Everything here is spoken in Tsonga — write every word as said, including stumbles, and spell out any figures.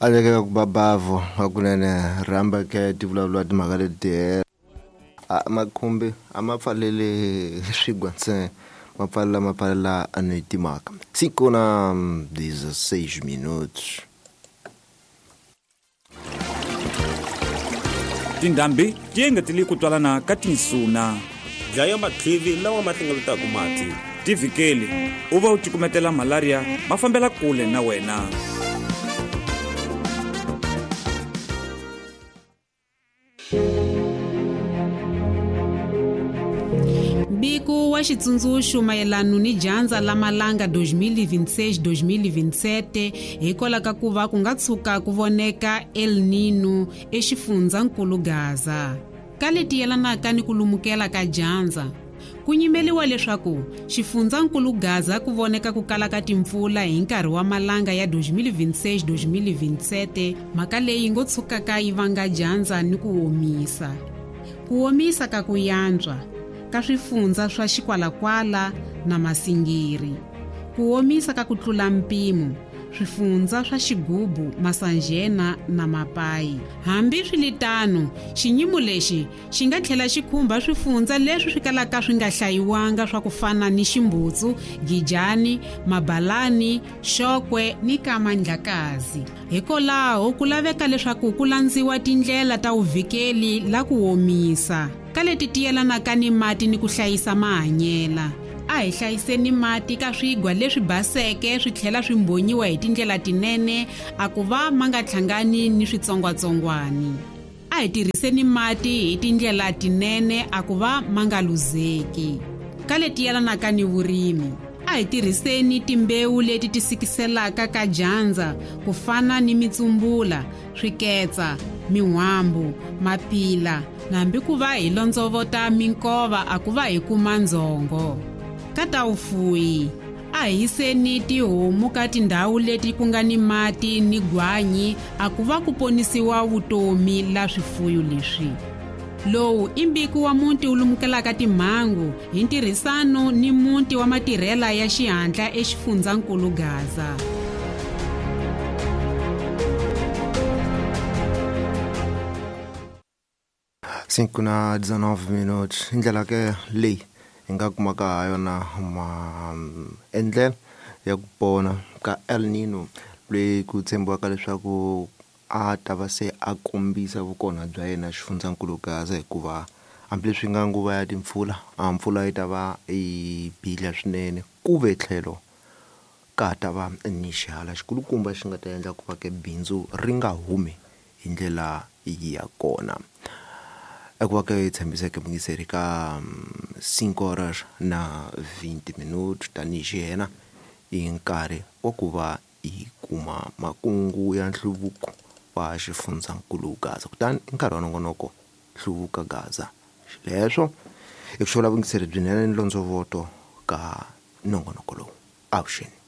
Aleke ku babavo hakunene rhamba ke ti vulavula timhaka leti a makhumbi a ma pfaleli swigwa ntsena ma pfalela ma pfalela ni timhaka cinco na dezesseis minutos. Tindhambi ti engetele ku twalana ka tinsuna. Dlaya matlivi lawa ma hlengeletaka mati. Tivhikeli u va u cukumetela malaria ma fambela kule na wena. Mbiko wa xitsundzuxo mayelana ni dyandza la malanga dois mil e vinte e seis dois mil e vinte e sete hikwalaho ka ku va ku nga tshuka ku voneka El Nino exifundzankulu Gaza. Ka leti yelanaka ni ku lumukela ka dyandza, ku nyimeliwa leswaku xifundzankulu Gaza ku voneka ku kala ka timpfula hi nkarhi wa malanga ya dois mil e vinte e seis dois mil e vinte e sete, mhaka leyi ngo tshukaka yi vanga dyandza ni ku omisa. Ku omisa ka ku yantswa ka swifundza swa Xikwalakwala na Masingiri. Ku omisa ka ku tlula mpimo swifundza swa Xigubu, Masanjena na Mapai. Hambi swiritano, xinyimo lexi xi nga tlhela xi khumba swifundza leswi swi kalaka swi nga hlayiwanga swa ku fana ni Ximbutsu, Gijani, Mabalani, Xokwe ni Kamandlakazi. Hikwalaho ku laveka leswaku ku landziwa tindlela ta vuvikeli la ku omisa ka leti ti yelanaka ni mati ni ku hlayisa mahanyela. A hi hlayiseni mati ka swigwa leswi baseke swi tlhela swi mbhonyiwa hi tindlela tinene a ku va ma nga hlangani ni switsongwatsongwani. A hi tirhiseni mati hi tindlela tinene a ku va ma nga luzeki. Ka leti yelanaka ni vurimi, a hi tirhiseni timbewu leti ti sikiselaka ka dyandza ku fana ni mitsumbula, swiketsa, min'wambu, mapila, hambi ku va hi londzovota minkova a ku va hi kuma ndzhongo. Ka ta vufuwi, a hi yiseni tihomu ka tindhawu leti ku nga ni mati ni gwanyi a ku va ku ponisiwa vutomi la swifuyo leswi. Lowu i mbiko wa muti wu lumukelaka timhangu hi ntirhisano ni muti wa matirhela ya xihatla exifundzankulu Gaza. Cinco na dezenove minutos. Hi ndlela ke leyi hi nga kumaka ha yona maendlelo ya ku pona ka El Nino leyi ku tshembiwaka leswaku a ta va se a kombisa vukona bya yena xifundzankulu Gaza, hikuva hambileswi nga nguva ya timpfula a mpfula yi ta va yi bile swinene ku ve tlhelo ka ta va ni xihala xikulukumba xi nga ta endla ku va ke bindzu ri nga humi hi ndlela ya kona. Eku va ke hi tshembiseke mungiseri ka cinco horas na vinte minutos tanihi xiyena i nkarhi wa ku va hi kuma makungu ya nhluvuko wa xifundzankulu Gaza, kutani i nkarhi wa nongonoko Hluvuka Gaza. Xileswo i ku xovula vungiseri byinene ni londzovoto ka nongonoko lowu. Avuxeni.